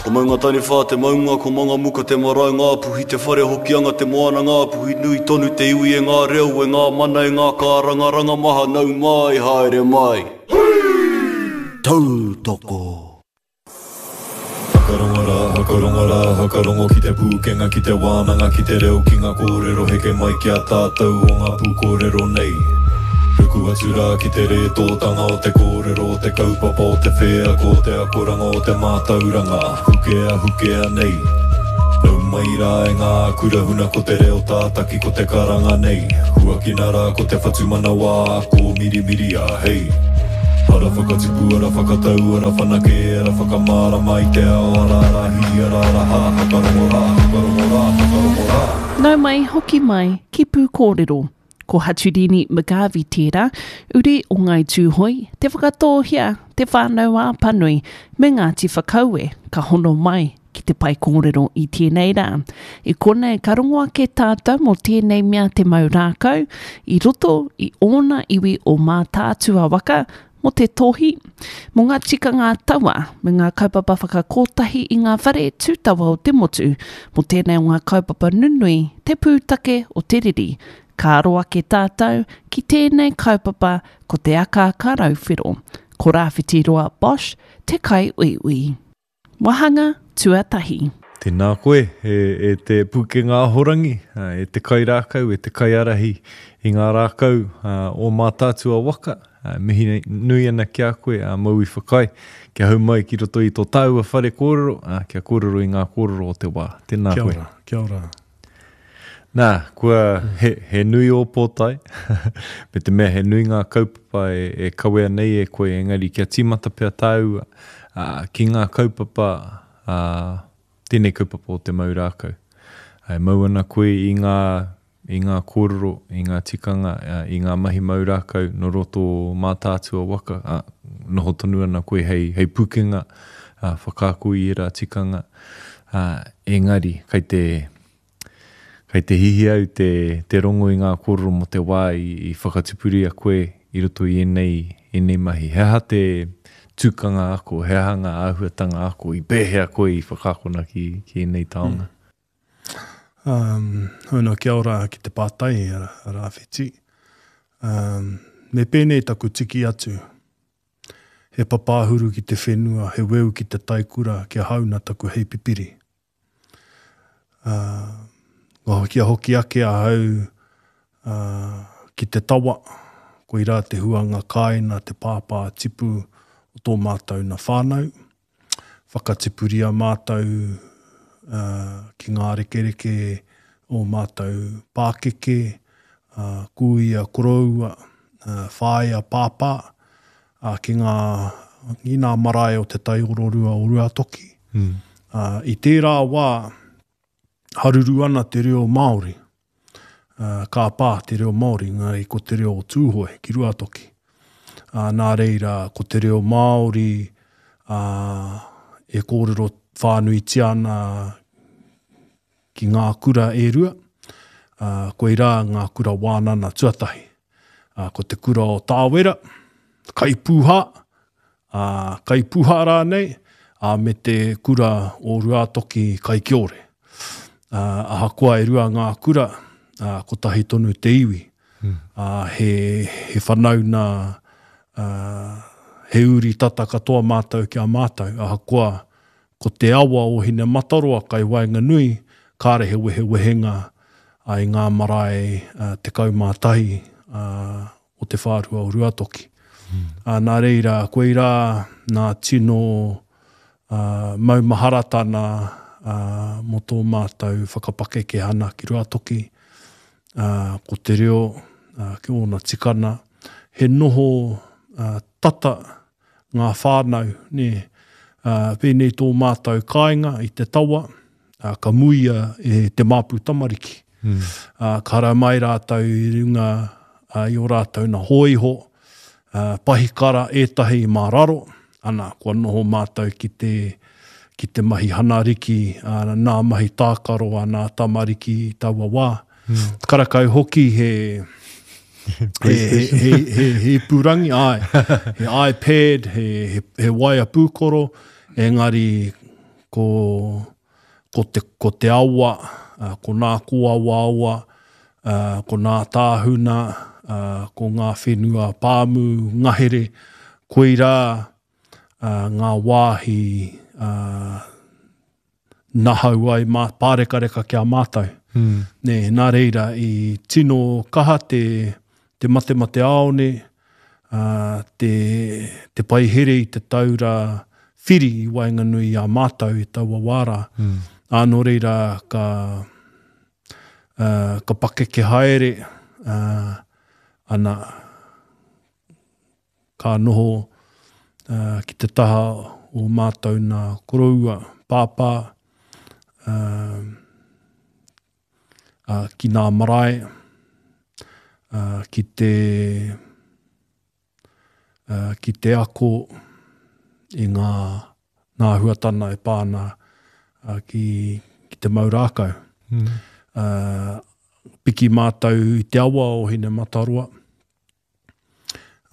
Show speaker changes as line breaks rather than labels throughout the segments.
Ko Maungataniwha te maunga, ko Mangamuka te marae, Ngāpuhi te whare, Hokianga te moana, Ngāpuhi nui tonu te iwi e ngā reo, e ngā mana, e ngā kārangaranga maha, nau mai, haere mai. Tautoko!
Whakarongo rā, whakarongo rā, whakarongo ki te pūkenga, ki te wānanga, ki te reo, ki ngā kōrero heke mai ki a tātou o ngā pūkōrero nei. Ruku atu rā ki te rētōtanga o te kōrero, o te kaupapa, o te wheako, o te akoranga, o te mātauranga, hukea, hukea nei. Nau mai rā e ngā kura huna ko te reo tātaki ko te karanga nei. Huakina rā ko te whatumanawa kōmirimiria, hei. Ara whakatipu, ara whakatau, ara whanake, ara whakamārama i te ao, ara ara hī, ara ara hā, whakarongo rā, whakarongo rā, whakarongo rā.
Nau mai, hoki mai, ki Pūkōrero. Ko Haturini McGarvey tērā, uri o Ngāi Tūhoe, Te Whakatōhea, Te Whānau-ā-Apanui, me Ngāti Whakaue, ka hono mai ki te pae kōrero i tēnei rā. I konei ka rongo ake tātou mō tēnei mea te mau rākau i roto i ōna iwi o Mātaatua waka, mō te tohi, mō ngā tikanga taua me ngā kaupapa whakakotahi i ngā whare tūtawa o te motu, mō tēnei o ngā kaupapa nunui, te pūtake o te riri. Ka aro ake tātou ki tēnei kaupapa ko te akaaka rauwhero. Ko Rāwhitiroa Bosch te kaiuiui. Wāhanga tuatahi.
Tēnā koe, e te pūkenga ahorangi, e te kairākau, e te kaiārahi i ngā rākau o Mātaatua waka. Mihi nui ana ki a koe, a Maui Whakai, kia hau mai ki roto i tō tāua whare kōrero, kia kōrero i ngā kōrero o te wā. Tēnā koe.
Kia ora, kia ora.
Nā, kua, he, he nui ō pōtae, me te mea he nui ngā kaupapa e, e kawea nei e koe, engari kia tīmata pea tāua, ā, ki ngā kaupapa, ā, tēnei kaupapa o te mau rākau. E mau ana koe i ngā, i ngā kōrero, i ngā tikanga, ā, i ngā mahi mau rākau nō roto o Mātaatua waka, ā, noho tonu ana koe hei, hei pukenga, ā, whakaako i ērā tikanga, ā, engari, kei te, Kei te hihi au te, te rongo i ngā kōrero mō te wā i, i whakatupuria koe i roto i ēnei, ēnei mahi. He aha te tukanga ako, he aha ngā āhuatanga ako, i pēhea koe i whakaakona ki, ki ēnei taonga?
Um, hono, kia ora ki te pātai, Rāwhiti. Um, me pēnei taku tiki atu. He papāhuru ki te whenua, he weu ki te taikura, kia hauna taku hei pipiri. Ā, kia hoki ake ahau ki te tawa, koirā te huanga kāina, te pāpā tipu o tō mātou na whānau. Whakatipuria mātou ki ngā rekereke o mātou pākeke, kūia koroua, whāea pāpā, ā, ki ngā, ki ngā marae o Te Taiororua o Ruatoki. Mm. Ā, i tērā wā, haruru ana te reo Māori. Ā, ka pā te reo Māori, engari ko te reo o Tūhoe ki Ruatoki. Ā, nā reira, ko te reo Māori ā, e kōrero whānuitia ana ki ngā kura e rua, ā, koirā ngā kura wānana tuatahi. Ā, ko te kura o Tāwera, Kaipūhā, ā, Kaipūhā rānei, ā, me te kura o Ruātoki Kaikiore. Ā, ahakoa e rua ngā kura, ā, kotahi tonu te iwi. Ā, he, he whanauna, ā, he uri tata katoa mātou ki a mātou, ahakoa Ko te awa o Hinemataroa kai waenganui, kāre he wehewehenga i ngā marae 11 o te whārua o Ruatoki. Nā reira, koirā nā tino maumaharatana mō tō mātou whakapakekehana ki Ruatoki, ko te reo, ki ōna tikana, he noho tata ngā whānau, nē. Ā, pēnei tō mātou kāinga i te tawa, ā, ka muia e te māpu tamariki. Mm. Ā, ka haramai mai rātou i runga ā, i ō rātou na hōiho, ā, pahikara ētahi mā raro, ana, kua noho mātou ki te, ki te mahi hanariki, ā, nā mahi tākaro a nā tamariki i taua wā. Mm. Karakau hoki he, he, he, he, he, he ipurangi, ai, he iPad, he, he, he waea pūkoro, engari Ko, ko te, ko te awa, ko nā kōawaawa, ko nā tāhuna, ko ngā whenua pāmu, ngahere, koirā ngā wāhi nahau ai, mā, pārekareka ki a mātou. Mm. Nē, nā reira, i tino kaha te, te matemateāone, uh, te, te paihere i te taura whiri i waenganui i a mātou i taua wā rā. Mm. Ā, nō reira, ka, uh, ka pakeke haere, uh, ana, Ka noho ki te taha o mātou nā koroua, pāpā, ki nā marae, ki te, ki te ako i ngā nā huatana e pā ana ki, ki te mau rākau. Mm. Piki mātou i te awa o Hinemataroa,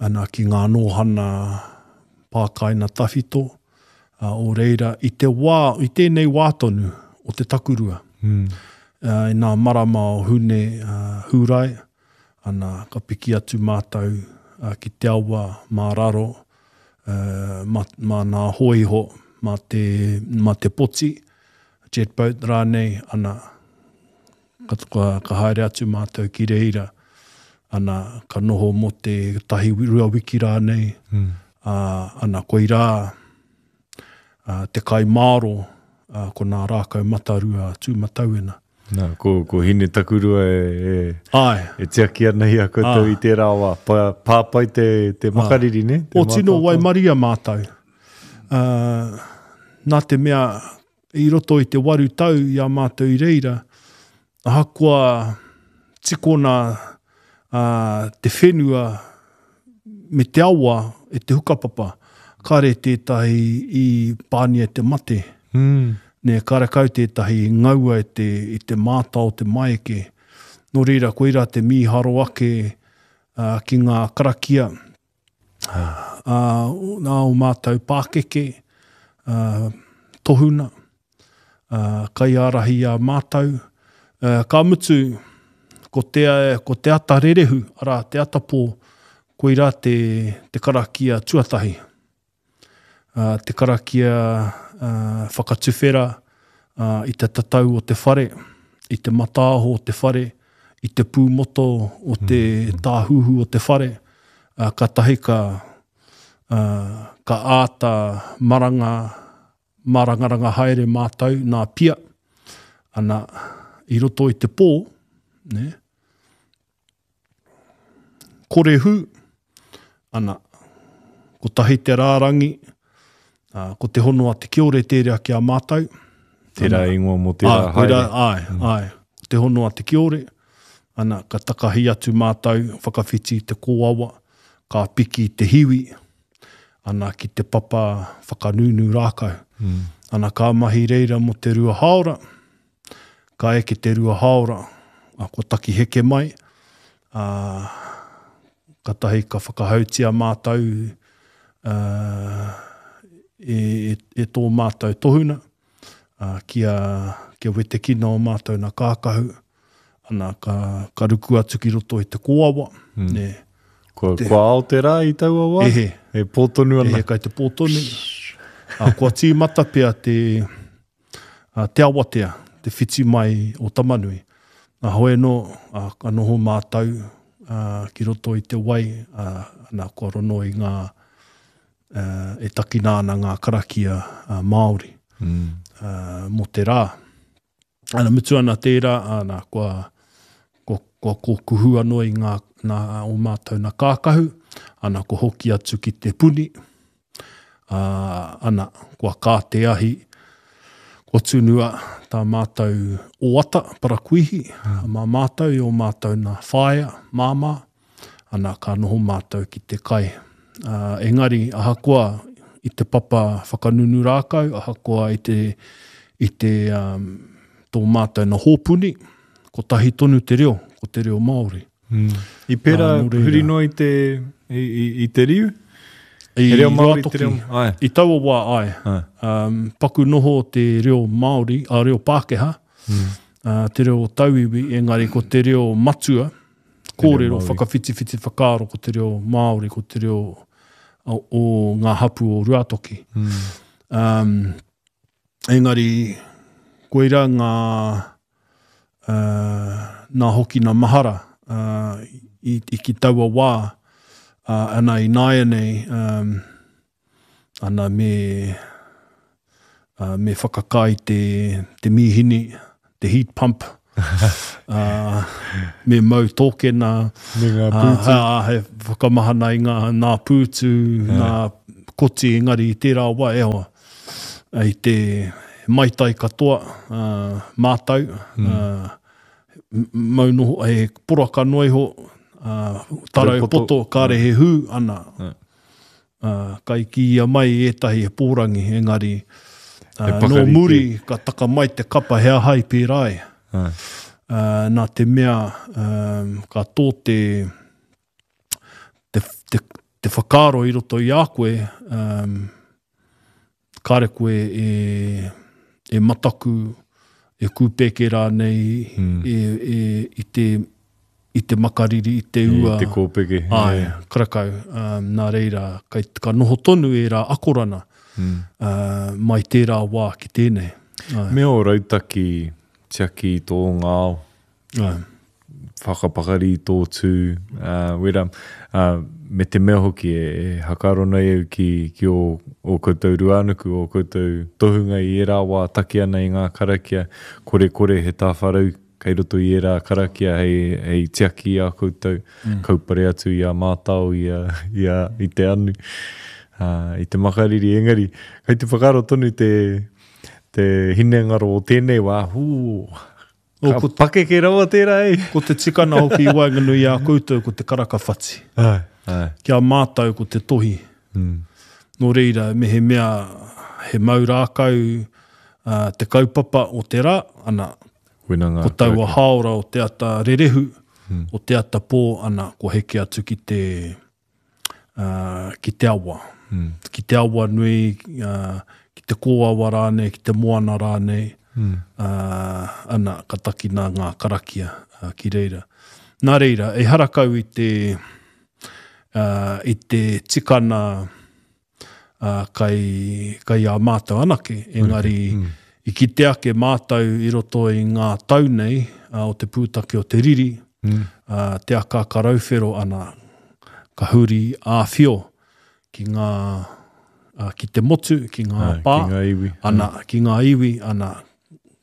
ana ki ngā nōhana pākaina tawhito, ā, o reira, i te wā, i tēnei wā tonu o te takurua, mm. ā, i nā marama o Hune, ā, Hūrae, ana, ka piki atu mātou ā, ki te awa mā raro, ā, mā, mā nā hōiho, mā te, mā te poti, jet boat rānei, ana, Ka, ka, ka haere atu mātou ki reira, ana, ka noho mō te tahi rua wiki rānei, mm. ā, ana, koirā ā, te kai māro, ā, ko nā rākau matarua Tūmatauena.
Nā, ko, ko Hine Takurua e, e, Ai. e tiaki ana i a koutou i tērā wā. Pa, pāpai te, te makariri, ne?
Te o tino waimaria mātou. Uh, nā te mea, I roto i te waru tau i a mātou i reira, ahakoa tikona te whenua me te awa e te hukapapa, kare tētahi i pānia e te mate. Mm. Nē, karekau tētahi i ngaua e te, i te māta o te maeke. Nō reira, koirā te mīharo ake uh, ki ngā karakia ā, nā ō mātou pākeke, ā, tohuna, ā, kaiārahi i a mātou. Ā, ka mutu, ko te, ko te ata rerehu, arā, te atapō, koirā te, te karakia tuatahi. Ā, te karakia, ā, whakatuwhera, ā, i te tatau o te whare, i te mataaho o te whare, i te pūmoto o te tāhuhu o te whare, ā, kātahi ka, ā, ka āta maranga, mārangaranga haere mātou nā Pia, ana, i roto i te pō, nē, kore hū, ana, kotahi te rārangi, ā, ko te hono a te kiore tērā ki a mātou.
Tērā ingoa mō tērā haere.
Koirā, āe, mm. āe. Ko te hono a te kiore, ana, ka takahi atu mātou, whakawhiti i te kōawa, ka piki i te hiwi, ana, ki te papa whakanūnū rākau. Mm. Ana, ka mahi reira mō te rua hāora, Ka eke te rua haora, a, kua taki heke mai, a, katahi ka whakahautia mātou a, e, e, e tō mātou tohuna, a, kia, kia wetekina o mātou na kākahu, ana, ka, ka ruku atu ki roto i te kōawa, mm.
ne. Kua, te, kua ao te rā i taua wā?
Ehe.
E pō tonu ana.
Ehe, kai te pō tonu. A, kua tīmata pea te, a, te awatea, te whiti mai o Tamanui. A hoi anō, a, ka noho mātou a, ki roto i te wai, a, ana, kua rono i ngā, a, e takina ana ngā karakia a, Māori mm. a, mō te rā. Ana, mutu ana tērā, ana, kua, kua, kua kōkuhu anō i ngā, nā, o mātou nā kākahu, ana, kua hoki atu ki te puni, Ā, ana, kua kā te ahi, kua tunua tā mātou oata, parakuihi, mā mātou i ō mātou nā whaea, māmā, ana, ka noho mātou ki te kai. Ā, engari, ahakoa i te papa whakanunu rākau, ahakoa i te, i te, um, tō mātou nā hōpuni, kotahi tonu te reo, ko te reo Māori.
Mm. I pērā huri noa i te, i, i, i te riu? I he reo Māori te reo,
ai. I taua wā, ai. ai. Um, paku noho te reo Māori, a reo Pākehā, mm. uh, te reo tauiwi, engari ko te reo matua, kōrero, whakawhitiwhiti whakaaro, ko te reo Māori, ko te reo o, o ngā hapu o Ruatoki. Mm. Um, engari, koira ngā, uh, nā hoki nā mahara uh, i, i ki taua wā, uh, ana i nāianei, um, ana me, uh, me whakakai te, te mīhini, te heat pump, uh, me mau tōkena,
me ngā pūtu.
Uh, uh, he whakamahana i ngā, nā pūtu, yeah. nā koti, engari i tērā wā, e hoa, i te maitai katoa mātau, mau noho, he poraka noa iho, tarau poto, kāre he hū, ana, kai kīia mai ētahi he pōrangi, engari, nō muri ka taka mai te kapa he aha i pērā ai. Nā te mea, ka tō te, te, te, te whakaaro i roto i a koe, um, kāre koe e, e mataku, e kūpēke rānei mm. e, e, i, te, i te makariri, i te ua.
I te kōpeke.
Ai, karakau. Um, nā reira, kai, ka noho tonu ērā akorana mm. uh, mai tērā wā ki tēnei.
Ai. Me ō rautaki tiaki i tō ngāo.
Ai.
Whakapakari i tō tū, ā, wera, ā, me te mea hoki e, e hakaaro nei au ki, ki ō, ō koutou ruānuku, ō koutou tohunga i ērā wā taki ana i ngā karakia, korekore he tāwharau kei roto i ērā karakia hei, hei tiaki i a koutou, mm. kaupare atu i a mātao, i a, i a, i te anu, ā, i te makariri. Engari, kei te whakaaro tonu te, te hinengaro o tēnei wā, hū, Ka ko, pakeke rawa tērā
e. Ko te tikana hoki i waenganui i a koutou ko te karaka whati.
Ai, ai.
Ki a mātou ko te tohi.
Mm.
Nō reira, mehemea he mau rākau uh, te kaupapa o te rā, ana,
Koina
ngā ko taua hāora o te ata rerehu, mm. o te ata pō, ana, kua heke atu ki te, ki te awa. Mm. Ki te awa nui, uh, ki te kōawa rānei, ki te moana rānei, mm. uh, ana, ka takina ngā karakia uh, ki reira. Nā reira, ehara kau i te, uh, i te tikana uh, kai, kai a mātou anake, engari mm. i kite ake mātou i roto i ngā tau nei uh, o te pūtake o te riri, mm. uh, te akaaka rauwhero ana, ka huri āwhio ki ngā, uh, ki te motu, ki ngā pā,
ki ngā iwi.
ana, mm. ki ngā iwi, ana,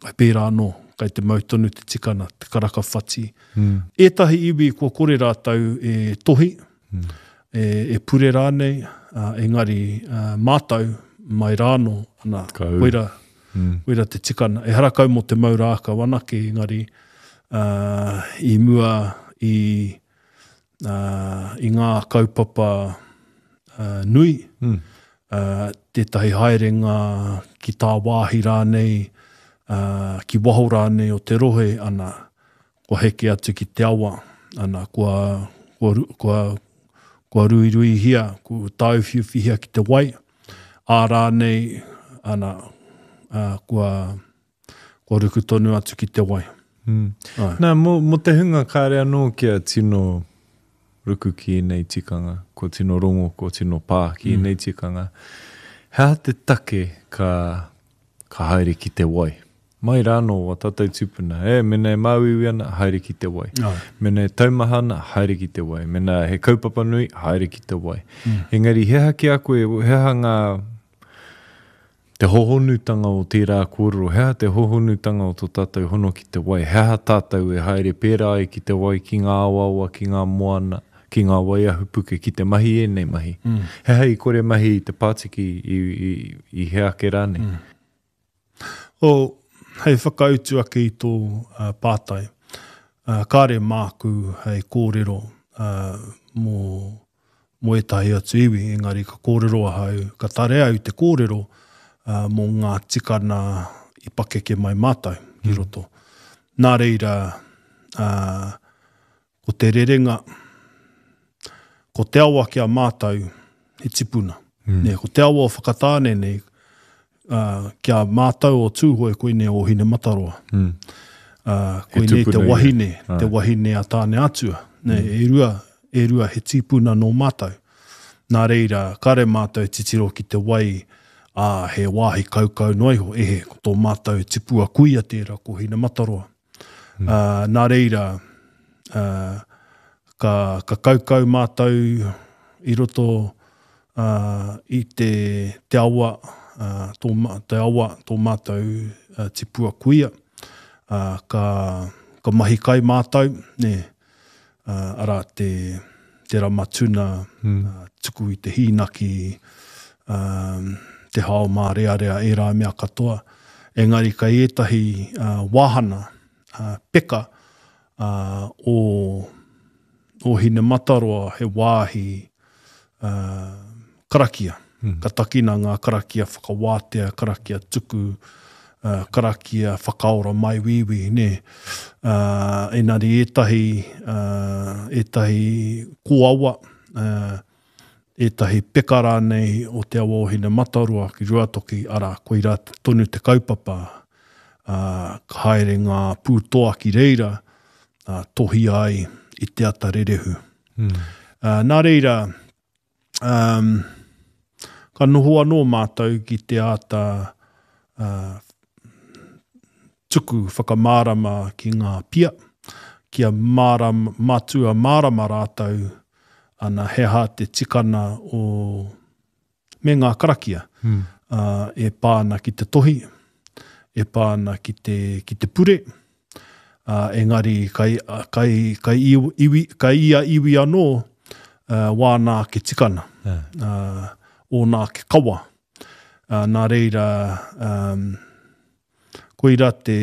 kai pērā anō, kai te mau tonu te tikana, te karaka whati.
Mm.
Ētahi iwi kua kore rātou e tohi, mm. e, e pure rānei, uh, engari uh, mātau mai rānō, ana, koira, mm. koira te tikana. Ehara kau mō te mau rākau anake, engari uh, i mua i, uh, i ngā kaupapa uh, nui,
mm.
uh, tētahi haerenga ki tāwāhi rānei, uh, ki waho rānei o te rohe, ana, kua heke atu ki te awa, ana, kua, kua, kua, kua ruiruihia, kua tāuwhiuwhihia ki te wai, ā rānei, ana, ā, kua, kua ruku tonu atu ki te wai.
Mm. Ai. Nā, mō, mō te hunga kāre anō kia tino ruku ki ēnei tikanga, kua tino rongo, kua tino pā ki mm. ēnei tikanga, he aha te take ka, ka haere ki te wai? Mai rānō wā tātou tūpuna, e, mēnā e māuiui ana, haere ki te wai. Mēnā e taumaha ana, haere ki te wai. Mēnā he kaupapa nui, haere ki te wai. Mm. Engari, he aha ki a koe, he aha ngā, te hohonutanga o tērā kōrero, he aha te hohonutanga o tō tātou hono ki te wai, he aha tātou e haere pērā ai ki te wai, ki ngā awaawa, ki ngā moana, ki ngā wai ahupuke, ki te mahi ēnei mahi.
Mm.
He aha i kore mahi i te pātiki i, i, i hea ake rānei?
Mm. Oh, hei whakautu ake i tō uh, pātai, uh, kāre māku hei kōrero uh, mō, mō ētahi atu iwi, engari ka kōrero ahau, ka tarea au te kōrero uh, mō ngā tikana i pakeke mai mātou ki mm. roto. Nā reira, uh, ko te rerenga, ko te awa ki a mātou, he tipuna. Mm. Nē, ko te awa o Whakatāne nei, uh, ki a mātou o Tūhoe, koinei o Hinemataroa. Mm. Uh, koinei te wahine, ia. te wahine a Tāne Atua. Nē, mm. e rua, e rua he tīpuna nō mātou. Nā reira, kare mātou titiro ki te wai, ā, he wāhi kaukau noa iho, ehe, ko tō mātou tipua kuia tērā, ko Hinemataroa. Mm. Uh, nā reira, uh, ka, ka kaukau mātou i roto uh, i te, te awa, uh, tō, te awa, tō mātou uh, tipua kuia. Uh, ka, ka mahi kai mātou, nē, uh, arā te, te rama tuna, mm. uh, tuku i te hīnaki, um, te hao mārearea, ērā mea katoa. Engari kai ētahi uh, wāhana, uh, peka uh, o, o Hinemataroa he wāhi uh, karakia. Mm. Ka takina ngā karakia whakawātea, karakia tuku, uh, karakia whakaora maiwīwī, nē. Uh, enari ētahi, uh, ētahi kōawa, uh, ētahi peka rānei o Te Awa o Hinemataroa ki Ruatoki, arā, koirā tonu te kaupapa, uh, ka haere ngā pūtoa ki reira, uh, tohia ai i te ata rerehu. Mm. Uh, nā reira, um, ka noho anō mātou ki te āta uh, tuku whakamārama ki ngā pia, kia mārama, matua mārama rātou ana he aha te tikana o me ngā karakia mm. uh, e pā ana ki te tohi, e pā ana ki te, ki te pure, uh, engari kai, kai, kai, iwi, kai ia iwi anō uh, wāna ake tikana, yeah. uh, ōna ake kawa. Uh, nā reira, um, koira te,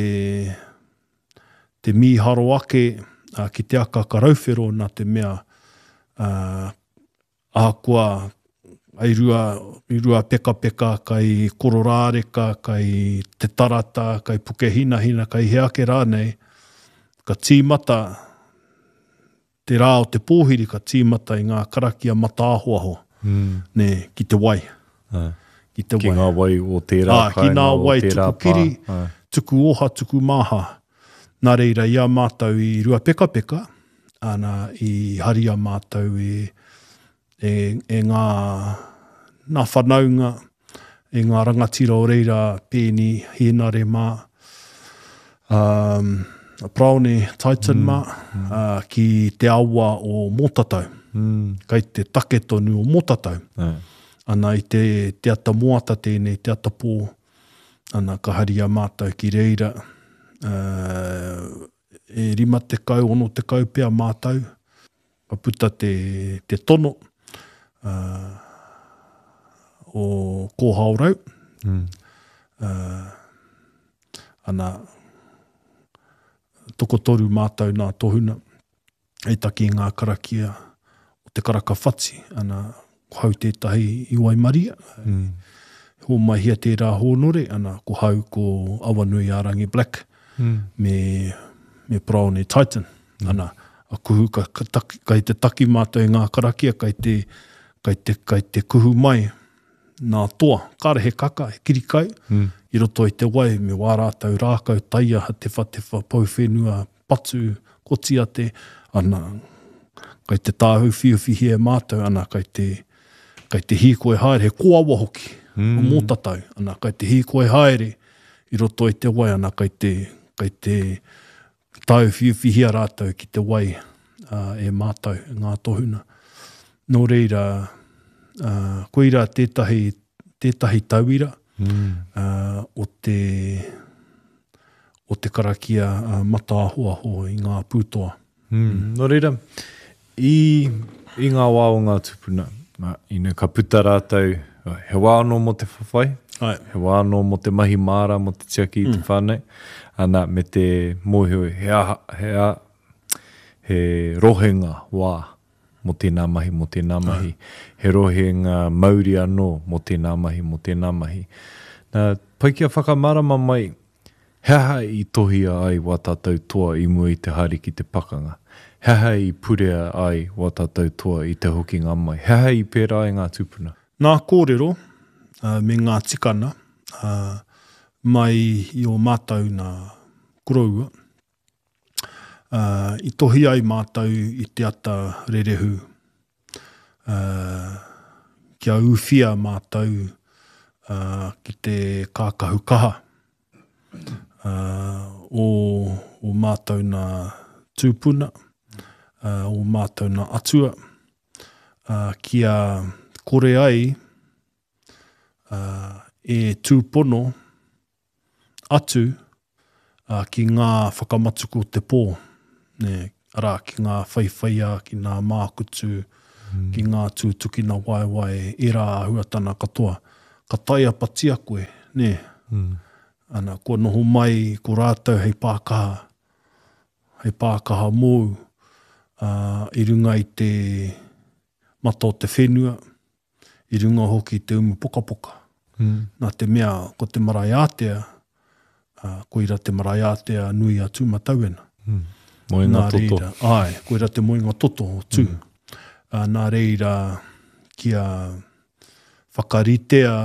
te mīharo ake uh, ki te aka karauwhero nā te mea uh, Ahakoa i rua, i Ruapekapeka, kai Kororāreka, kai Te Tarata, kai Pukehinahina, kai hea ake rānei, ka tīmata te rā o te pōhiri ka tīmata i ngā karakia matāhoaho, mm. nē, ki te wai.
Ai. Ki te wai. Ki ngā wai o tērā
Ā, ki ngā wai tuku kiri, tuku oha, tuku māha. Nā reira, i a mātou i Ruapekapeka, ana, i haria mātou e, e, e ngā, nā whanaunga, e ngā rangatira o reira, Pēni, Hēnare mā, um, Paraone Titan mm. mā, mm. Uh, ki te awa o Mōtatau. Mm. Kai te take tonu o Mōtatau. Mm. Ana i te, te ata moata tēnei, te ata pō, Ana, ka haria mātou ki reira, e 50, 60 pea mātou, ka puta te, te tono uh, o Kōhaorau. Mm. Uh, ana, tokotoru mātou nā tohuna. hei taki i ngā karakia o te karaka whati, ana, ko hau tētahi i waimaria, mm. hōmaihia tērā hōnore, ana, ko hau ko Awanui-ā-rangi Black, mm. me, me Paraone Titan, mm. ana, a kuhu, ka, ka taki, kai te taki mātou i ngā karakia, kai te, kai te, kai te kuhu mai, nā toa, kāre he kaka, he kirikai, mm. i roto i te wai, me wā rātou rākau, taiaha, tewhatewha, pouwhenua, patu, kotiate, ana, kai te tāuwhiuwhihia e mātou, ana, kai te, kai te hīkoi haere, he kōawa hoki, mm. o Mōtatau, ana, kai te hīkoi haere i roto i te wai, ana, kai te, kai te tāuwhiuwhihia rātou ki te wai uh, e mātou, e ngā tohuna. Nō reira, uh, koira tētahi, tētahi tauira mm. uh, o te, o te karakia mataahoaho i ngā pūtoa.
Mm. Nō reira, i, i ngā wā o ngā tūpuna, ina ka puta rātou, he wā anō mō te whawhai, Ai. he wā anō mō te mahi māra, mō te tiaki i te mm. whānau, ana, me te mōhio, he aha, he, a, he rohenga wā mō tēnā mahi, mō tēnā mahi, he rohenga mauri anō mō tēnā mahi, mō tēnā mahi. Nā, pai kia whakamārama mai, He aha i tohia ai wā tātou toa i mua i te haere ki te pakanga? He aha i purea ai wā tātou toa i te hokinga mai? He aha i pērā ai ngā tūpuna?
Nā kōrero me ngā tikana mai i ō mātou nā koroua, i tohi ai mātou i te ata rerehu kia ūwhia mātou ki te kākahu kaha o ō mātou nā tūpuna, ō mātou nā atua, kia kore ai e tūpono atu ki ngā whakamatuku o te pō, arā, ki ngā whaiwhaiā, ki ngā mākutu, ki ngā tūtukina waewae, ērā āhuatana katoa. Ka taiapatia koe, nē? Ana, kua noho mai ko rātou hei pākaha, hei pākaha mōu, ā, i runga i te mata o te whenua, i runga hoki i te umu pokapoka. Mm. Nā te mea, ko te marae ātea, ā, koira te marae ātea nui a Tūmatauena.
Mm. Moenga nā
toto. Reira, āe, koira te moenga toto o Tū. Mm. Ā, nā reira, kia whakaritea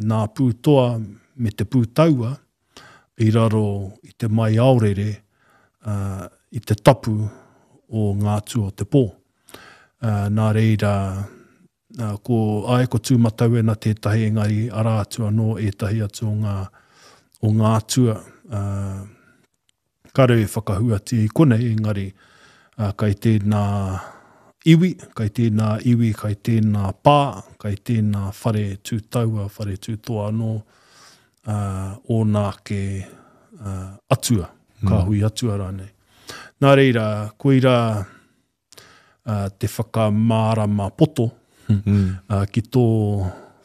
nā pūtoa me te pūtaua i raro i te maiaorere, ā, i te tapu o ngā atua o te pō. Ā, nā reira, ā, ko, āe, ko Tūmatauena tētahi, engari arā atu anō ētahi atu o ngā, o ngā atua, ā, Kāre e whakahuatia i konei, engari kai tēnā iwi, kai tēnā iwi, kai tēnā pā, kai tēnā whare tū taua, whare tū toa anō, ōna ake atua, kāhui atua rānei. Nā reira, koirā te whakamārama poto ki tō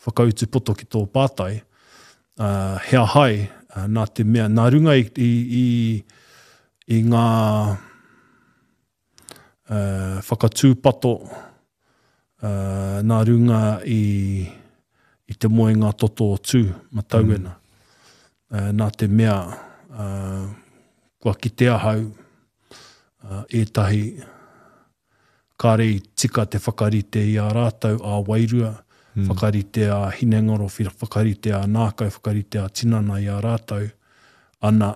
whakautu poto ki tō pātai, he ahai nā te mea, nā runga i, i, i, i ngā whakatūpato, nā runga i, i te moenga toto o Tū, Matauena. Nā te mea, kua kite ahau, ētahi kāre i tika te whakarite i a rātou ā-wairua, whakarite ā-hinengaro, whakarite ā-nākau, whakarite ā-tinana i a rātou, ana,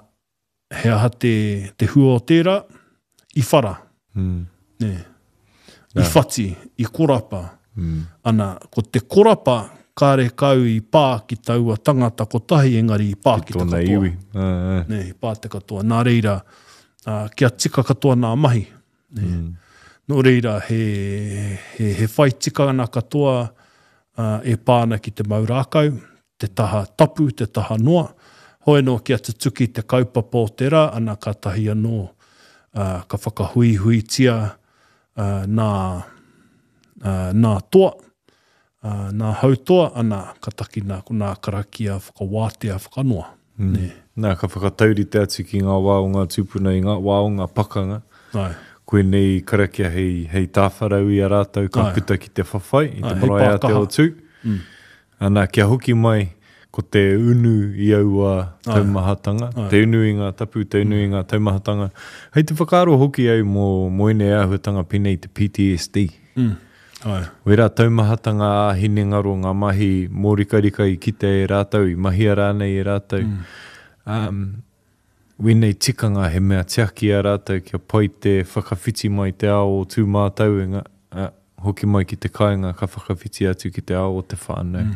he aha te, te hua o tērā? I whara, nē. I whati, i korapa. Ana, ko te korapa kāre kau i pā ki taua tangata kotahi engari i pā ki, ki te katoa.
Iwi.
Nē, i pā te katoa. Nā reira, kia tika katoa nā mahi. Nē. Nō reira, he, he, he whai tikanga katoa e pā ana ki te mau rākau, te taha tapu, te taha noa. Hoi anō kia tutuki te kaupapa o te rā, ana kātahi anō ka whakahuihuitia nā, nā toa, nā hautoa, ana ka takina ko nā karakia whakawātea whakanoa.
Nē. Nā, ka whakataurite atu ki ngā wā o ngā tūpuna i ngā wā o ngā pakanga.
Āe.
Koinei karakia hei, hei tāwharau i a rātou ka puta ki te whawhai i te marae ātea o Tū. Ana, kia hoki mai ko te unu i aua taumahatanga, te unu i ngā tapu, te unu i ngā taumahatanga. Hei te whakaaro hoki au mō, mō ēnei āhuatanga pēnei i te PTSD.
Mm. Ai.
Wērā taumahatanga ā-hinengaro, ngā mahi mōrikarika i kitea e rātou, i mahia rānei e rātou. Mm. Um, Wēnei tikanga he mea tiaki i a rātou kia pai te whakawhiti mai te ao o Tūmātauenga, ā, hoki mai ki te kāinga ka whakawhiti atu ki te ao o te whānau,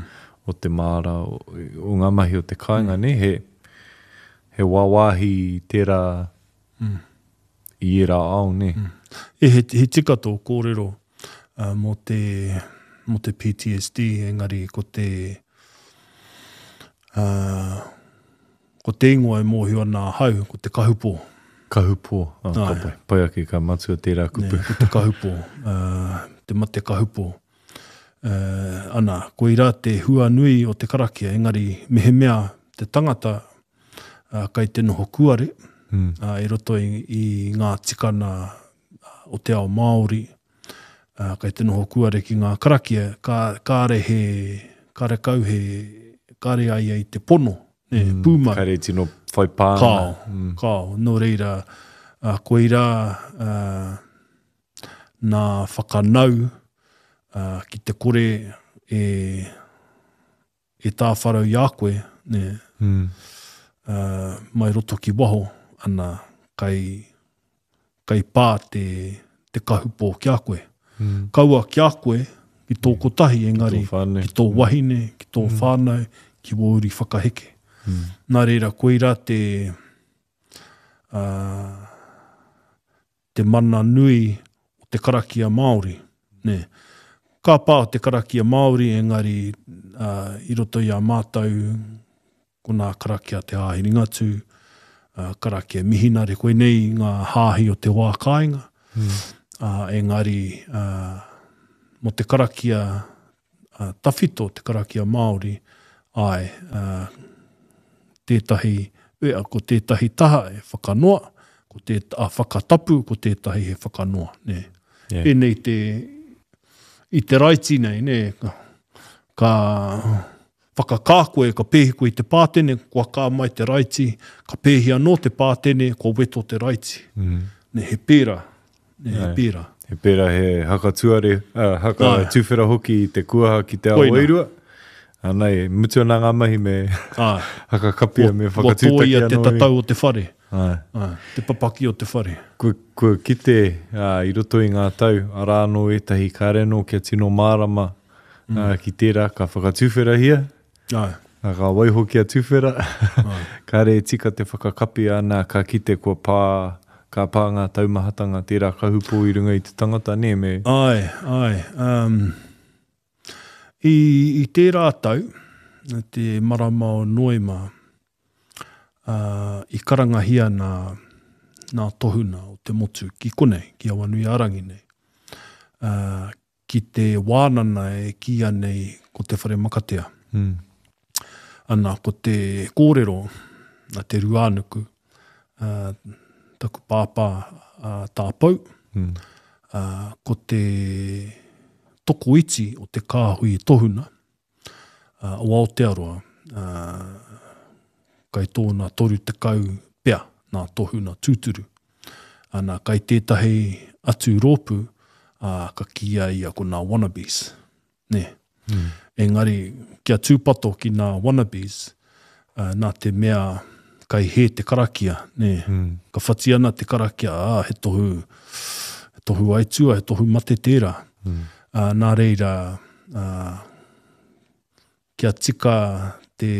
o te māra, o, o ngā mahi o te kāinga, nē, he, he wāwāhi tērā i ērā ao, nē.
E, he, he tika tō kōrero mō te, mō te PTSD, engari ko te, uh, Ko te ingoa e mōhio ana ahau, ko te kahupō.
Kahupō, oh, ka pai. Pai ake ka matua tērā kupu.
Nē, ko te kahupō, uh, te mate kahupō. Uh, ana, koirā te hua nui o te karakia, engari mehemea te tangata uh, kai te noho kuare, mm. uh, i roto i, i ngā tikana o te ao Māori, uh, kai te noho kuare ki ngā karakia, ka, kāre he, kāre kau he, kāre a ia i te pono, nē, mm, pūmau.
Kāre tino whai pānga.
Kao, mm. kao. Nō reira, uh, koirā uh, nā whakanau uh, ki te kore e, e tāwharau i a koe, nē, mm. uh, mai roto ki waho, ana, kai, kai pā te, te kahupō ki a koe. Mm. Kaua ki a koe, ki tō kotahi, engari, ki tō, ki tō mm. wahine, ki tō mm. whānau, ki wō uri whakaheke. Mm. Nā reira, koirā te, uh, te mana nui o te karakia Māori, nē. Ka pā te karakia Māori engari i roto i a mātou ko nā karakia te Hāhi Ringatū, karakia Mihinare, koinei ngā hāhi o te wā kāinga, engari mō te karakia tawhito, te karakia Māori, āe, tētahi, ko tētahi taha e whakanoa, ko tē, a whakatapu, ko tētahi he whakanoa, nē. Yeah. Pēnei te, i te raiti nei, nē, ka, ka whakakā koe, ka pēhi koe i te pātene, kua kā mai te raiti, ka pēhi anō te pātene, kua weto te raiti. Mm. Nē, he pērā. Nē, he pērā.
He pērā he haka tuare, uh, haka Ai. tuwhera hoki i te kuaha ki te ao wairua. Anei, mutu ana ngā mahi me Ai. haka kapia me whakatūtaki anō.
Kua tōia te tatau o te whare. Ai. Ai. Te papaki o te whare.
Kua, kua kite uh, i roto i ngā tau, arā anō ētahi kāre anō kia tino mārama mm. uh, ki tērā ka whakatuwherahia.
Ai.
Nā, ka waiho kia tuwhera, kāre e tika te whakakapi, ana, ka kite kua pā, ka pā ngā taumahatanga, tērā kahupō i runga i te tangata, nē, me.
Āe, āe. Um, i, i tērā tau, te marama o Noema, uh, i karangahia nā, nā tohuna o te motu ki konei, ki Awanuiārangi nei, uh, ki te wānana e kīia nei ko Te Whare Makatea. Mm. Ana, ko te kōrero a Te Ruānuku, uh, taku pāpā uh, tā Pou, mm. uh, ko te tokoiti o te kāhui tohuna uh, o Aotearoa, uh, kai tōna 30 pea nā tohuna tūturu. Ana, kai tētahi atu rōpū, ā, ka kīia ia ko nā wannabes. Nē. Mm. Engari, kia tūpato ki nā wannabes, ā, nā te mea kai hē te karakia, nē. Mm. Ka whati ana te karakia, ā, he tohu, he tohu aitua, he tohu mate tērā. Mm. Ā, nā reira, ā, kia tika te,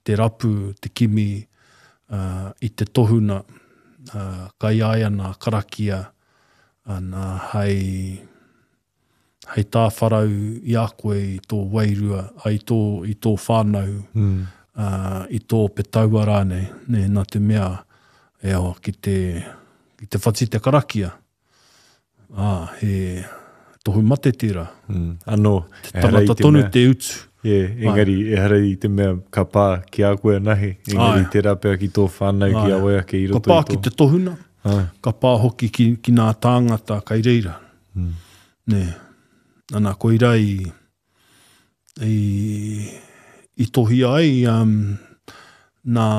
te rapu, te kimi i te tohuna, kai a ia nā karakia, ana hei, hei tāwharau i a koe i tō wairua, i tō, i tō whānau, mm. i tō petaua rānei, nē, nā te mea, e hoa, ki te, ki te whati te karakia, Ā, he tohu mate tērā.
Mm, anō,
te tangata tonu te utu.
Yeah, engari, Ai. ehara i te mea ka pā ki a koe anahe, engari Ai. tērā pea ki tō whānau, ki a wai ake i
roto i tō. Ka pā ki te tohuna, Ai. ka pā hoki ki, ki nā tāngata kai reira. Mm. Nē. Ana, koirā i, i, i tohia ai um, nā,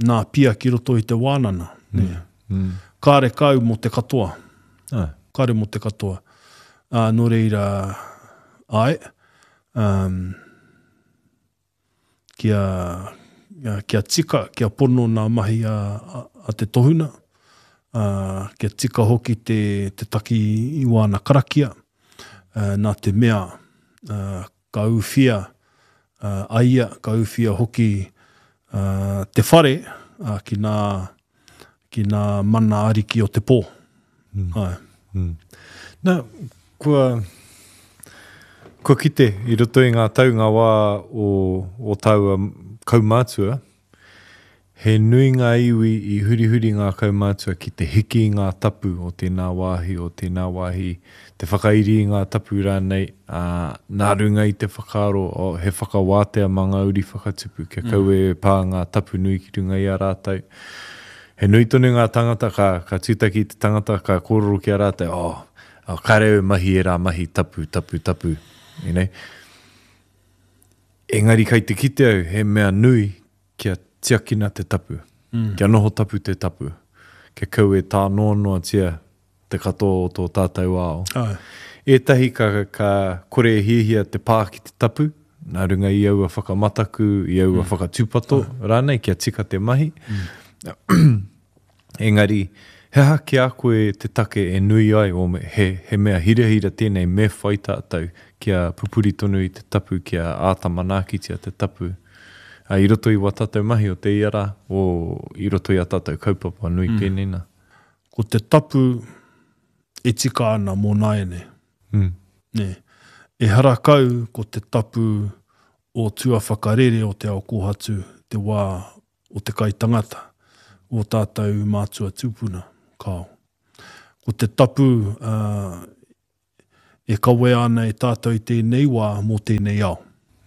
nā pia ki roto i te wānana. Mm. Nē. Mm. Kāre kau mō te katoa.
Ah.
Kāre mō te katoa. Uh, nō reira, ai, um, kia, kia tika, kia pono nā mahi a, a, a te tohuna, ā, kia tika hoki te, te taki i wāna karakia, ā, nā te mea, ā, ka ūwhia a ia, ka ūwhia hoki ā, te whare ā, ki nā, ki nā mana ariki o te pō. Mm. Āe.
Mm. Nā, kua, kua kite i roto i ngā tau ngā wā o, o tāua kaumātua, he nui ngā iwi i hurihuri ngā kaumātua ki te hiki i ngā tapu o tēnā wāhi, o tēnā wāhi, te whakairi i ngā tapu rānei, ā, nā runga i te whakaaro, oh, he whakawātea mā ngā uri whakatupu, kia kaua e pā ngā tapu nui ki runga i a rātou. He nui tonu ngā tāngata ka, ka tūtaki i te tangata, ka kōrero ki a rātou, oh, oh, kāre au e mahi ērā mahi tapu, tapu, tapu, you know. Engari kai te kite au he mea nui kia tiakina te tapu, mm. kia noho tapu te tapu, kia kau e tānoanoatia. te katoa o tō tātou ao. Āe. Ētahi ka, ka kore e hiahia te pā ki te tapu, nā runga i aua whakamataku, i aua mm. whakatūpato Āe. rānei, kia tika te mahi. Mm. Engari, he aha ki a koe te take e nui ai, o me, he, he mea hirahira tēnei me whai tātou kia pupuri tonu i te tapu, kia āta manaakitia te tapu. Ā, i roto i wā tātou mahi o te ia rā, o, i roto i ā tātou kaupapa nui mm. pēnei nā.
Ko te tapu e tika ana mō nāianei. Mm. Nē. Ehara kau ko te tapu o tua whakarere o te ao kōhatu te wā o te kai tangata, o tātou mātua tūpuna, kāo. Ko te tapu uh, e kawea ana e tātou i tēnei wā mō tēnei ao.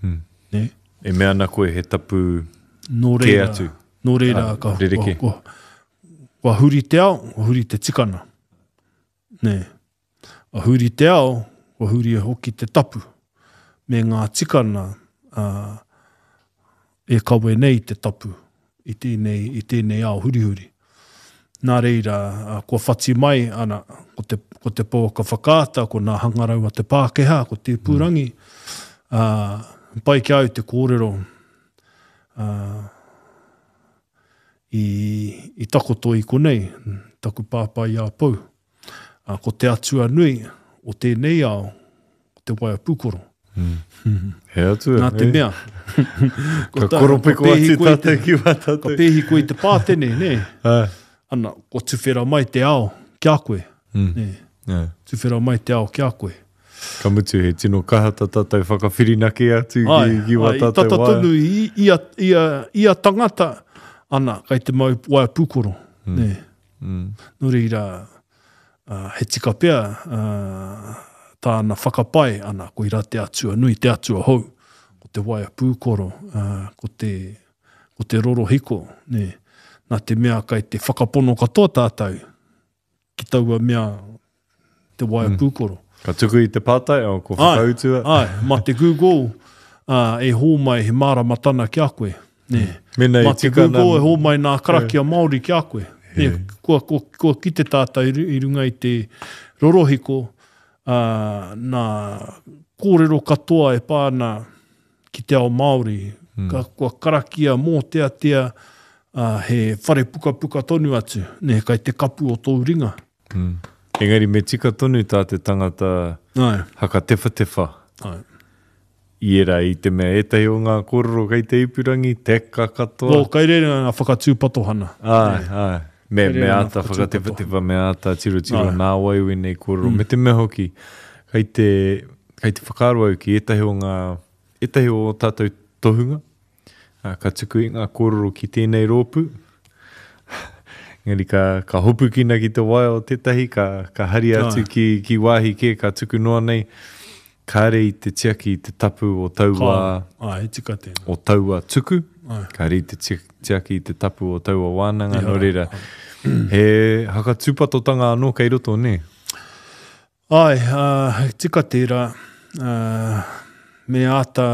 Mm. Nē? E mea ana koe he tapu nō reira, kē atu.
Nō reira, ah, ka, kua, kua, kua huri te ao, kua huri te tikana. Nē. Kua huri te ao, kua huri hoki te tapu me ngā tikana uh, e kawe nei te tapu i tēnei, i tēnei ao hurihuri. Nā reira, kua whati mai, ana, ko te, ko te pouaka whakaata, ko nā hangarau a te Pākehā, ko te ipurangi, mm. ā, pai ki a au te kōrero, ā, i, i takoto i konei, taku pāpā i a Pou. Ā, ko te atua nui o tēnei ao, ko te waea pūkoro.
Mm. He atua.
Nā te mea.
Ka koropiko atu tātou ki wā tātou.
Ka pēhi koe i te pātene, nē? Ana, kua tuwhera mai te ao ki a koe. Mm. Nē? Yeah. Tuwhera mai te ao ki a koe.
Ka mutu, he tino kaha tā tātou whakawhirinaki atu ki, ki wā tātou waea.
Tata tonu i ia, ia, ia tangata, ana, kai te mau waea pūkoro. Mm. Nē? Mm. Nō reira, uh, he tika pea uh, tāna whakapae, ana, koirā te atua nui, te atua hou, ko te waea pūkoro, uh, ko te, ko te rorohiko, nē. Nā te mea kai te whakapono katoa tātou ki taua mea te waea mm. pūkoro.
Ka tuku i te pātai, o, ko whakautua.
Ai, ai, mā te Google uh, e hōmai he māramatana ki a koe. Nē.
Mena
i tika nā... Mā te Google e hōmai nā karakia Māori ki a koe. Nē, kua, kua, kua kite tātou i runga i te rorohiko, uh, nā kōrero katoa e pā ana ki te ao Māori. Mm. Ka, kua karakia mōteatea, uh, he whare pukapuka tonu atu, nē, kai te kapu o tōu ringa.
Mm. Engari me tika tonu tā te tangata
Ai.
hakatewhatewha.
Ai.
I ērā i te mea ētahi o ngā kōrero kei te ipurangi, teka katoa.
Oh, kai reira ngā whakatūpatohana.
Āe, āe. Me, me āta whakatewhatewha, me āta tirotiro nā wai wēnei kōrero. Mm. Me te mea hoki, kei te, kei te whakaaro au ki ētahi o ngā, ētahi o ō tātou tohunga, Ā, ka tuku i ngā kōrero ki tēnei rōpū. Engari ka, ka hopukina ki te waea o tētahi, ka, ka haria atu ki, ki wāhi kē, ka tuku noa nei, kāre i te tiaki i te tapu o taua,
Ka, āe, tika tēnā.
o taua tuku, Āe. kāre i te tiaki i te tapu o taua wānanga, nō reira, he hakatūpatotanga anō kei roto, nē?
Āe, ā, tika tērā, ā, me āta,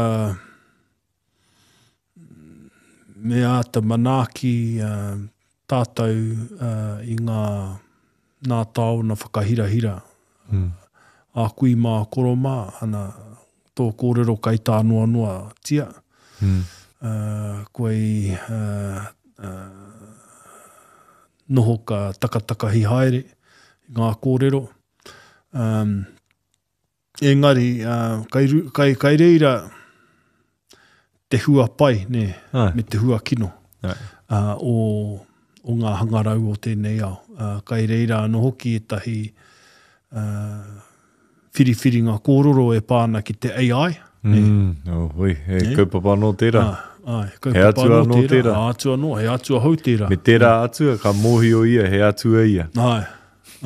Me āta manaaki tātou i ngā nā taona whakahirahira a kui mā koro mā, ana, tō kōrero kai tānoanoatia, kua i noho ka takatakahi haere i ngā kōrero. Engari, kai, kai, kai reira te hua pai, nē, Ai. me te hua kino Ai. uh, o, o ngā hangarau o tēnei ao. Uh, kai reira anō hoki ētahi uh, whiriwhiringa kōrero e pā ana ki te AI.
Nē. Mm, oh, hoi, he Nē? kaupapa anō tērā.
Ah, ai, kaupapa he atua anō tērā. tērā. Ah, atua anō, he atua hou tērā.
Me tērā atua, ka mōhio ia, he atua ia.
Ai,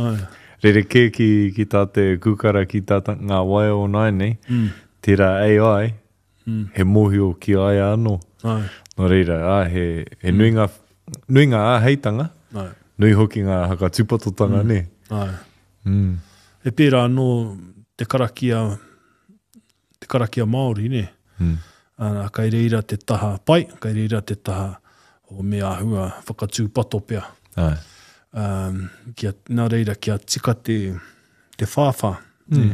Ai.
Rerekē ki, ki tā te kūkara, ki tā ta, ngā waea o nāianei, mm. tērā AI, mm. he mōhio ki a ia anō.
Ai.
Nō reira, ā, he, he mm. nui ngā, nui ngā āheitanga,
Ai.
nui hoki ngā hakatūpatotanga, mm. nē.
Ai.
Mm.
He pērā anō te karakia, te karakia Māori, nē.
Mm.
Ana, kai reira te taha pai, kai reira te taha o me āhua whakatūpato pea.
Ai.
Um, kia, nā reira, kia tika te, te whāwhā. Mm.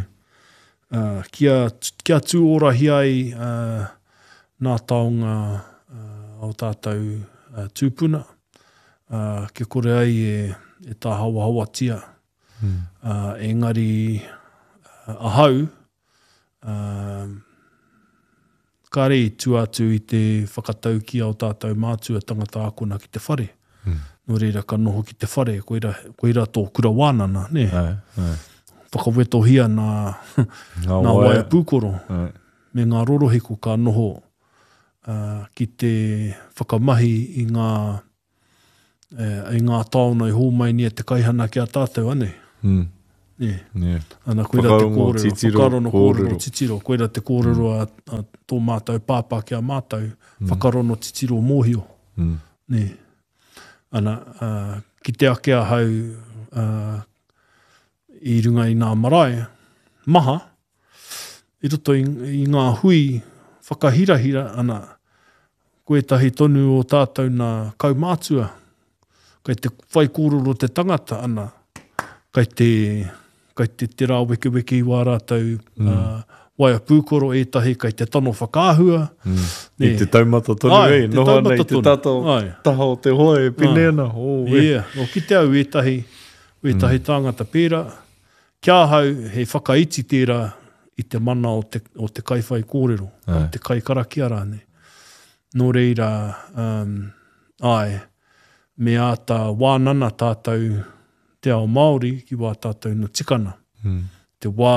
Uh, kia, kia tūorahia ai uh, nā taonga uh, o tātou uh, tūpuna, uh, kia kore ai e, e tāhawahawatia. Mm. Uh, engari uh, ahau, uh, Kāre i tua atu i te whakataukī a o tātou mātua tangata ākona ki te whare. Mm. Nō reira ka noho ki te whare, koira, koira tō kura wānana, nē? Ai, ai. Whakawetohia nā, ngā nā waea pūkoro ai. me ngā rorohiko ka noho uh, ki te whakamahi i ngā i ngā taona i hōmai nei e te kaihana ki a tātou, anei. Mm. Nē. Yeah. Ana, koira te kōrero, titiro, whakarono kōrero, titiro, koira te kōrero mm. a, a tō mātou pāpā ki a mātou, mm. whakarono titiro mōhio. Mm. Nē. Ana, uh, ki te ake ahau uh, i runga i ngā marae, maha, i roto i, i ngā hui whakahirahira, ana, Ko ētahi tonu o tātou nā kaumātua, kei te whaikōrero te tangata, ana, kei te, kei te, te rāwekeweke i wā rātou mm. uh, waea pūkoro, ētahi kei te tano whakaahua.
Mm. I te taumata tonu, ai, e, noho ana i te tata, taha o te hoa e pine ana.
Oh, e. Yeah. O kite au ētahi, ētahi mm. tāngata pērā, Ki ahau, he whakaiti tērā i te mana o te, o te kaiwhaikōrero, o te kaikarakia rānei. Nō reira, um, āe, me āta wānana tātou te ao Māori ki wā tātou na tikana. Mm. Te wā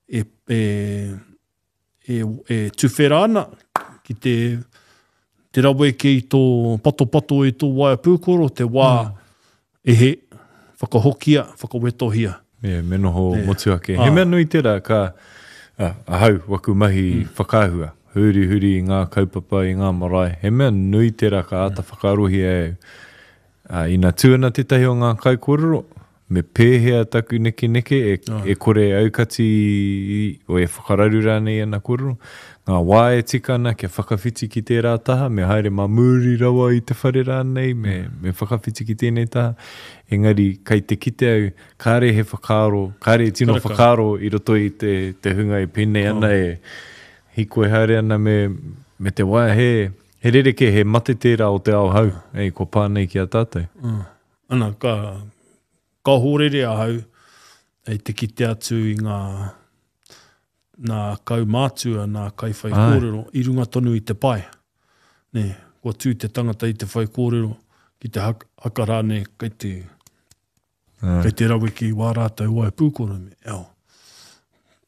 e, e, e, e tuwhera ana ki te, te raweke i tō patopato i tō waea pūkoro, te wā mm. e he, whakahokia, whakawetohia.
Yeah, me noho yeah. motuhake. He mea nui tērā ka ah, ahau, waku mahi mm. whakaahua, huri huri i ngā kaupapa, i ngā marae. He mea nui tērā ka āta mm. whakaarohia e au. Ā, ina tū ana tētahi o ngā kaikōrero, me pēhea taku nekeneke e, e kore e aukati o e whakararu rānei i ana kōrero? Ngā wā e tika ana kia whakawhiti ki tērā taha, me haere mā muri rawa i te whare rānei, me, me whakawhiti ki tēnei taha. Engari, kei te kite au, kāre he whakaaro, kāre e tino whakaaro i roto i te, te hunga e pēnei ana, e hīkoi haere ana me, me te waea, he, He rerekē, he mate tērā o te ao hou, ei, kua pā nei ki a tātou.
Mm. Ana, ka, ka hōrere ahau hei te kite atu i ngā, nā kaumātua, nā kaiwhaikōrero i runga tonu i te pae. Nē, kua tū te tangata i te whaikōrero, ki te haka rānei kei te, Kei te raweke i wā rātou wae pūkoro me, eo.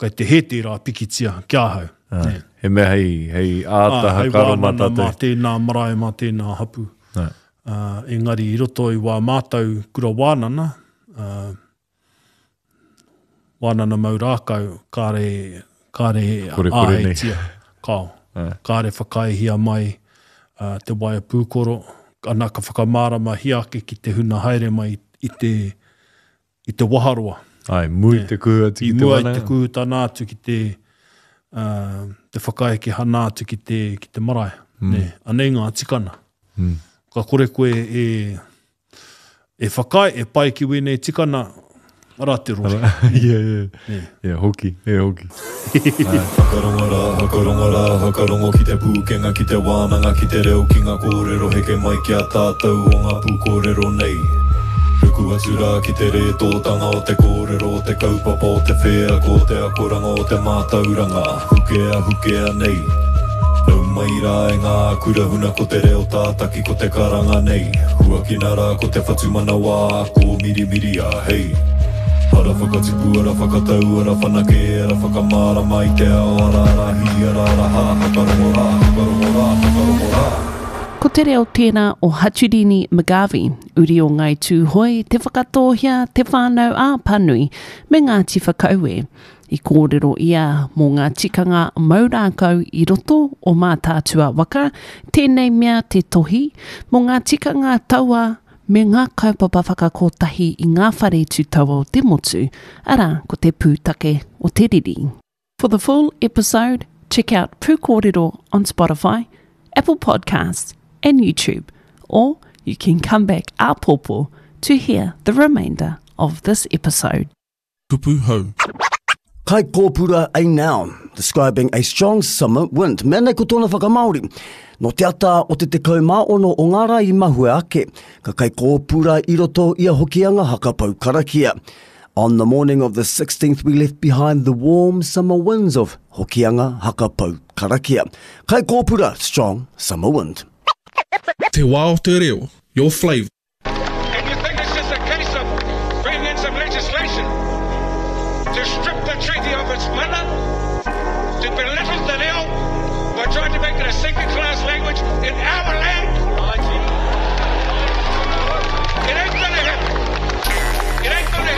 Kei te hē tērā pikitia ki ahau.
Ai, he mea hei, hei āta hakaro mā tātou.
Hei wānana mā tēnā marae, mā tēnā hapu. Ai. Uh, engari i roto i wā mātou kura wānana, uh, wānana mau rākau, kāre, kāre āheitia. Kao. Kāre whakaaehia mai uh, te waea pūkoro, ana ka whakamāramahia ake ki te huna haere mai i te, i te waharoa.
Ai, mui te kuhu atu ki te
wānanga. I mua i te kuhutana atu ki te, uh, te whakaeke hana atu ki te, ki te marae. Mm. Ne, anei ngā tikana. Mm. Ka kore koe e, E whakaae, e pai ki wēnei tikana, ara te rori.
Ia, ia. Ia, hoki, e hoki. Whakarongo rā, whakarongo rā, whakarongo ki te pūkenga, ki te wānanga, ki te reo, ki ngā kōrero heke mai ki a tātou o ngā pūkōrero nei. Ruku atu rā ki te rētōtanga o te kōrero, o te kaupapa, o te wheako, o te akoranga, o te mātauranga, hukea, hukea nei. Nau mai rā e ngā kura huna ko te reo tātaki. Ko te karanga nei, huakina rā ko te whatumanawa kōmirimiria, hei. Ara whakatipu, ara whakatau, ara whanake, ara whakamārama i te ao, ara ara hī, ara ara hā, whakarongo rā, whakarongo rā, whakarongo rā.
Ko te reo tērā o Haturini McGarvey, uri o Ngāi Tūhoe, Te Whakatōhea, Te Whānau ā Panui, me Ngāti Whakaue. I kōrero ia mō ngā tikanga mau rākau i roto o Mātaatua waka, tēnei mea te tohi, mō ngā tikanga taua me ngā kaupapa whakakotahi i ngā whare tū taua o te motu, arā, ko te pūtake o te riri. For the full episode, check out Pūkōrero on Spotify, Apple Podcasts and YouTube, or you can come back āpōpō. to hear the remainder of this episode.
Kupu hou.
Kai kōpura a noun, describing a strong summer wind. Mea nei ko tōna whakamāori. Nō te ata o te 16 o ngā rā i mahue ake, ka kai kōpura i roto i a Hokianga haka pou karakia. On the morning of the 16th we left behind the warm summer winds of Hokianga haka pou karakia. Kai kōpura, strong summer wind.
Te wā o te reo, your flavour.
And you think it's just a case of bringing in some legislation to strip the treaty of its mana, to belittle the reo by trying to make it a second-class language in our land?